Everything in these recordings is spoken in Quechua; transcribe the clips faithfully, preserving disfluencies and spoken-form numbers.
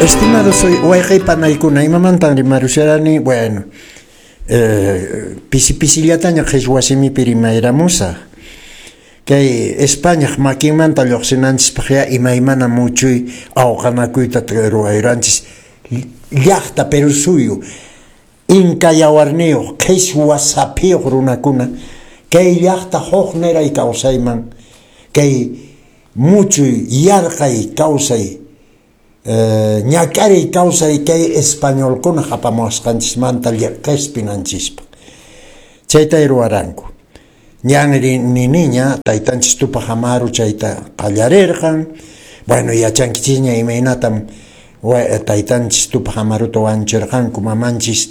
Estimados wayqey panaykuna, imamantan rimarusharani? Bueno, eh, pisi pisillataña qhichwa simipi rimayramusaq. Kay Españaq makinmanta lluqsinanchispaq ya imaymana muchuy awqanakuyta ruwayranchis llaqta Perú suyu inka yawarniyuq qhichwa saphiyuq runakuna kay llaqta huk niray kawsayman kay muchuy yarqay kawsay eh, ñak'ariy kawsay kay españolkuna apamuwasqanchismanta qispinanchispaq chayta ruwaranku. Ñan niniña taytanchis Tupaq Amaru chayta qallarirqan. Bueno, yachankichisña imaynatam taytanchis Tupaq Amaruta wanchirqanku mamanchis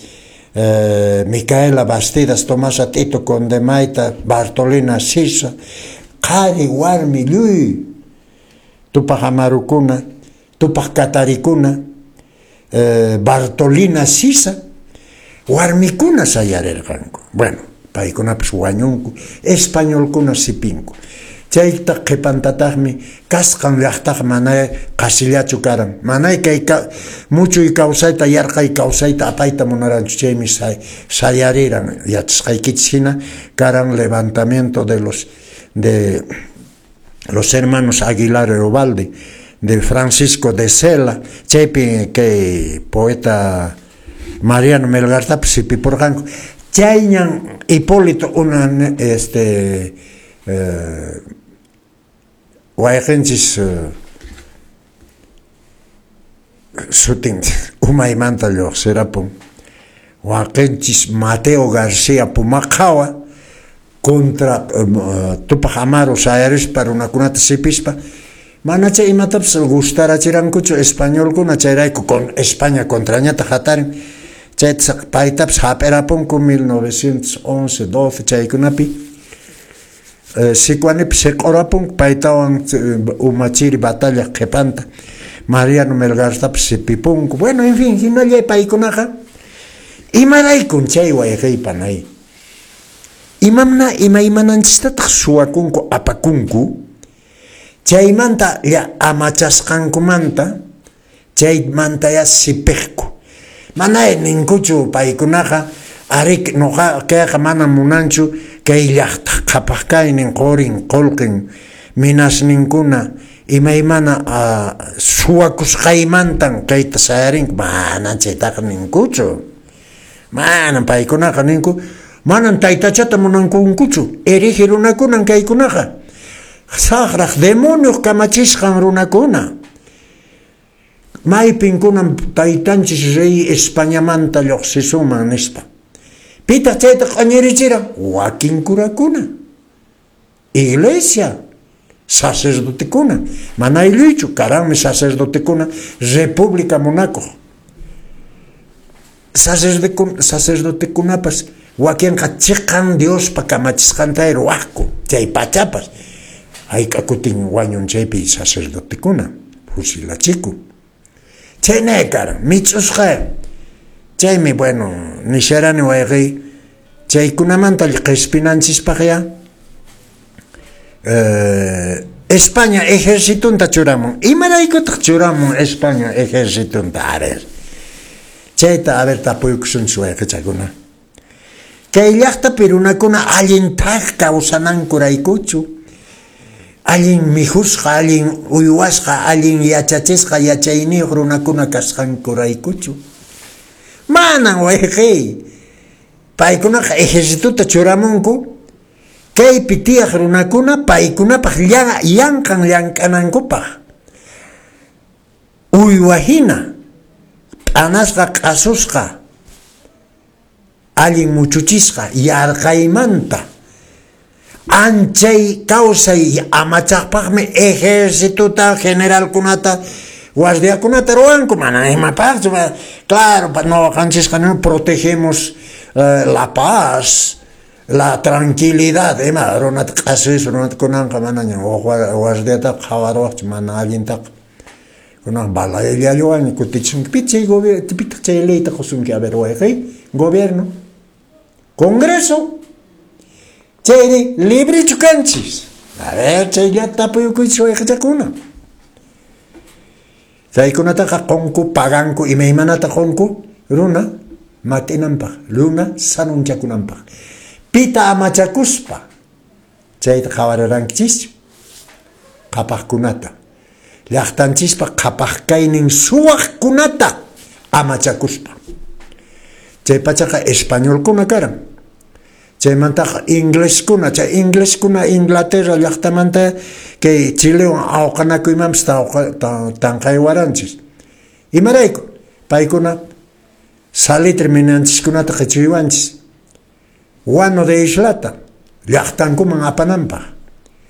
eh, Micaela Bastidas, Tomasa Tito Condemayta, Bartolina Sisa, qhari warmi lluy Tupaq Amarukuna, Tupaq Katarikuna, eh, Bartolina Sisa, warmikuna sayarirqanku. Bueno, paykunapas wañunku, españolkuna sipinku. Chayta qhipantataqmi kasqan llaqtaqa mana qasillachu karan. Manay kay muchuy kawsayta, yarqay kawsayta apayta munaranchu. Chaymi sayariran yachasqaykichis hina karan levantamiento de los de los hermanos Aguilar y Ovalde, de Francisco de Zela, chaypi kay poeta Mariano Melgartapas sipipurqanku. Chayñan Hipólito una este eh, wayqinchis eh, sutin umaymanta lluqsirapun waqinchis Mateo García Pumacahua contra uh, Tupaq Amaru sayarispa runakunata sipispa manacha imatapas gustarachirankuchu españolkuna chayrayku con España contrañata hatarin chayta paytapas hap'irapunku mil novecientos once, doce chaykunapi eh, Sicuanipi siq'urapunku paytawan umachiri batalla qhipanta Mariano Melgartapas sipipunku. Bueno, en fin, hinallay paykunaqa imaraykun chay wayqey panay imamna imaymananchistataq suwakunku apakunku chaymanta ya amachasqankumanta chaymanta ya sipiqku. Manay ninkuchu paykunaqa arik noqa kayqa mana munanchu kay llaqta qhapaq kaynin qurin qullqin minasninkuna imaymana uh, suwakusqaymantan kayta sayarinku. Manan chaytaqa ninkuchu. Manan paykunaqa ninku manan taytachata munankunkuchu hereje runakunan kaykunaqa saqraq demonioq kamachisqan runakuna. Maypinkunan taytanchis rey Españamanta lluqsisuman nispa. Pitaq chayta q'añirichiran wakin kurakuna, iglesia, sacerdotekuna. Mana aylluchu, karanmi sacerdotekuna República munakuq. Sacerdotekunapas wakinqa chiqan Diospa kamachisqanta ruwaqku chay pachapas. Hayk'a kutin wañun chaypi sacerdotekuna fusilachiku. Chaynay karan, mich'usqa. Chaymi, bueno, nisharani wayqey chaykunamanta qispinanchispaq ya eh, España ejercitunta churamun. Imaraykutaq churamun España ejercitunta? A ver, chayta a ver tapuykusunchis wayqichakuna. Kay llaqtapi runakuna allin thak kawsanankuraykuchu, allin mikhusqa, allin uywasqa, allin yachachisqa, yachayniyuq runakuna kasqankuraykuchu. Manan wayqey paykunaqa ejercituta churamunku kaypi tiyaq runakuna paykunapaq yanqan llank'anankupaq uywa hina p'anasqa q'asusqa allin muchuchisqa yarqaymanta anchay kawsay amachaqpaqmi ejercituta generalkunata guardiakunata ruwanku. Mana imapaqchu. Claro, noqanchisqa no protegemos eh, la paz, la tranquilidad. Ima runata q'asus runata kunanqa manaña guardiataqa qhawaruwaqchu mana allintaqa kunan balayllallawan kutichisunki. Pitaq chay gobierno, pitaq chay leyta qusunki? A ver wayqey, gobierno, congreso chayri librichu kanchis. A ver, chayllata tapuyukuychis wayqichakuna. Chaykunataqa qunku, paganku, imaymanata qunku runa mat'inanpaq, runa sanunchakunanpaq. Pita amachakuspa chayta qhawarirankichis qhapaqkunata, llaqtanchispa qhapaq kaynin suwaqkunata amachakuspa. Chay pachaqa españolkuna karan. Chaymantaqa ingleskuna, chay ingleskuna Inglaterra llaqtamanta kay Chilewan awqanakuymanpis tanqaywaranchis. Imarayku? Paykuna salitre minanchiskunata qichuywanchis. Guano de islata llaqtankuman apananpaq.